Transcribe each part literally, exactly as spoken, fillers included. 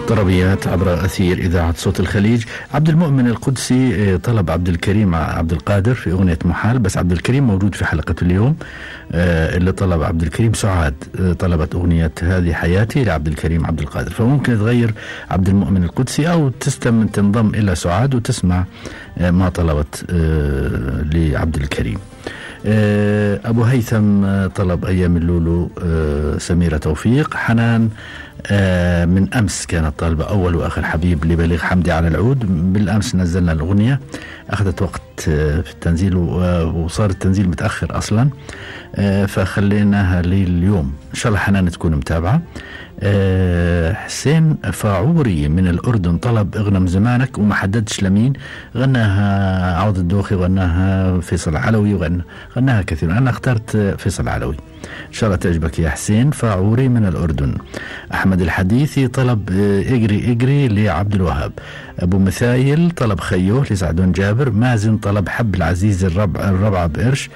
طربيات عبر أثير إذاعة صوت الخليج. عبد المؤمن القدسي طلب عبد الكريم عبد القادر في أغنية محال، بس عبد الكريم موجود في حلقة اليوم. اللي طلب عبد الكريم سعاد طلبت أغنية هذه حياتي لعبد الكريم عبد القادر، فممكن تغير عبد المؤمن القدسي أو تستم تنضم إلى سعاد وتسمع ما طلبت لعبد الكريم. أبو هيثم طلب أيام اللولو سميرة توفيق. حنان من أمس كانت طالبة أول وآخر حبيب لبليغ حمدي على العود. بالأمس نزلنا الأغنية، أخذت وقت في التنزيل وصار التنزيل متأخر أصلا، فخليناها لليوم إن شاء الله. حنان تكون متابعة. حسين فاعوري من الأردن طلب اغنم زمانك وما حددش لمين. غناها عوض الدوخي، غناها فيصل علوي، وغناها كثير. أنا اخترت فيصل علوي، إن شاء الله تعجبك يا حسين. فاعوري من الأردن. أحمد الحديثي طلب اجري اجري لعبد الوهاب. أبو مثايل طلب خيوه لسعدون جابر. مازن طلب حب العزيز الربع الربعة بقرش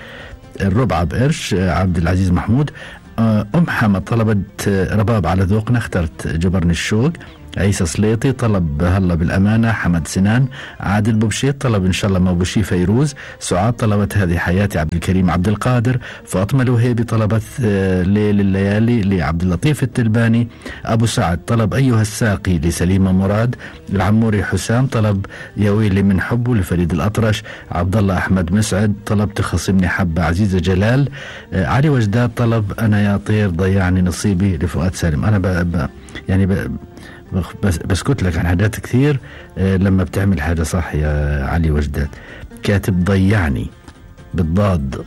الربعة بقرش عبد العزيز محمود. أم حمد طلبت رباب على ذوقنا، اخترت جبرني الشوق. عيسى سليطي طلب هلا بالأمانة. حمد سنان. عادل بوبشيت طلب إن شاء الله ما بوشي فيروز. سعاد طلبت هذه حياتي عبد الكريم عبد القادر. فاطمة الوهيبي طلبت ليل الليالي لعبد اللطيف التلباني. أبو سعد طلب أيها الساقي لسليمة مراد. العموري حسام طلب يا ويلي من حبه لفريد الأطرش. عبد الله أحمد مسعد طلب تخصمني حبة عزيزة جلال. علي وجداد طلب أنا يا طير ضيعني نصيبي لفؤاد سالم. أنا ب... ب... يعني ب... بس بسكت لك عن حاجات كثير لما بتعمل حاجة صح يا علي وجداد. كاتب ضيعني بالضاد،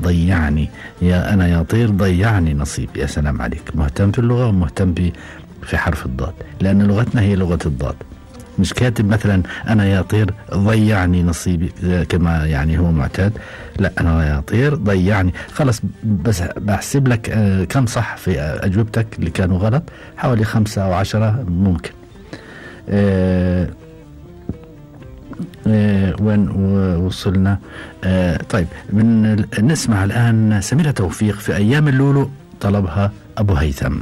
ضيعني يا أنا يا طير ضيعني نصيب. يا سلام عليك، مهتم في اللغة ومهتم في حرف الضاد، لأن لغتنا هي لغة الضاد. مش كاتب مثلا أنا يا طير ضيعني نصيبي كما يعني هو معتاد، لا أنا يا طير ضيعني. خلص بس بحسب لك كم صح في أجوبتك اللي كانوا غلط، حوالي خمسة أو عشرة ممكن. أه أه وين وصلنا؟ أه طيب من نسمع الآن سميرة توفيق في أيام اللولو طلبها أبو هيثم.